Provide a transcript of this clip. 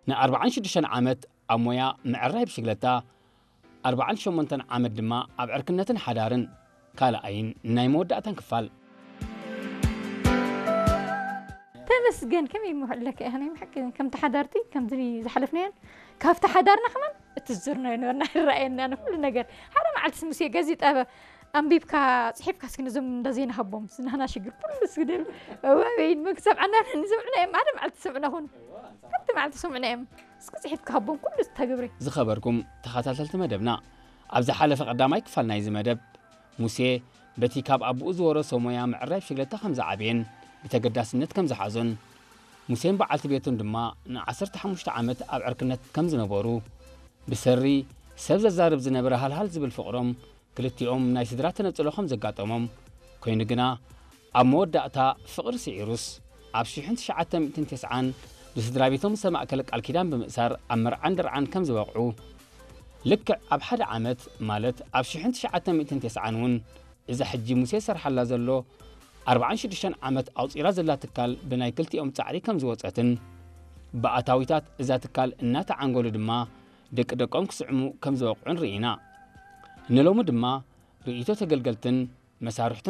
ን46 ዓመት ኣብ ሞያ ምዕራይ ብሽግለታ፣ 48 ዓመት ድማ ኣብ ዕርክነትን ሓዳርን፣ ካልኣይን ናይ መወዳእታን ክፋል። ተመስገን። ከመይ ምውዕለካ ኢኻ? ናይ ብሓቂ ከምቲ ሓዳርቲ ከምዚ ዝሓለፍናዮን ካብቲ ሓዳርና ከማን እቲ ዝዞርናዮ ነበርና ይረኣየና ንኩሉ ነገር። ሓደ መዓልቲ ስምስ ገዚ ጠበ ኣንቢብካ ጽሒፍካ እስኪ ነዞም እንዳ ዜና ሃቦም፣ ናህና ሽግር ኩሉ እስኪ ደል ወይን መክሰብ ዓና ንሰምዕና እዮም። ሓደ መዓልቲ ሰምዕና ኹን ሓንቲ መዓልቲ ሰምዕና እዮም። እስኪ ጽሒፍካ ሃቦም ኩሉ ዝተግብሪ። ዝኸበርኩም ተኸታተልቲ መደብና፣ ኣብ ዝሓለፈ ቀዳማይ ክፋል ናይዚ መደብ፣ ሙሴ በቲ ካብ ኣቦኡ ዝወረሶ ሞያ ምዕራይ ብሽግለታ ከም ዝዓበየን ብተገዳስነት ከም ዝሓዞን፣ ሙሴን በዓልቲ ቤቱን ድማ ን15 ዓመት ኣብ ዕርክነት ከም ዝነበሩ፣ ብሰሪ ሰብ ዘዛርብ ዝነበረ ሃልሃል ዝብል ፍቕሮም፣ ክልቲኦም ናይ ስድራ ተነጽሎ ከም ዘጋጠሞም፣ ኮይኑ ግና ኣብ መወዳእታ ፍቕሪ ስዒሩስ፣ ኣብ 1990 ብስድራ ቤቶም ዝተማእከለ ቃል ኪዳን ብምእሳር ኣብ መርዓን ደርዓን ከም ዝበቕዑ፣ ልክዕ ኣብ ሓደ ዓመት ማለት ኣብ 1990 እውን እዛ ሕጂ ሙሴ ዝሰርሓላ ዘሎ 46 ዓመት ኣቑጺራ ዘላ ትካል ብናይ ክልቲኦም ጻዕሪ ከም ዝወጸትን፣ ብኣታዊታት እዛ ትካል እናተዓንገሉ ድማ ደቂ ደቆም ክስዕሙ ከም ዝበቕዑን ርኢና። ንሎሚ ድማ ርእይቶ ተገልገልትን መሳርሕቱ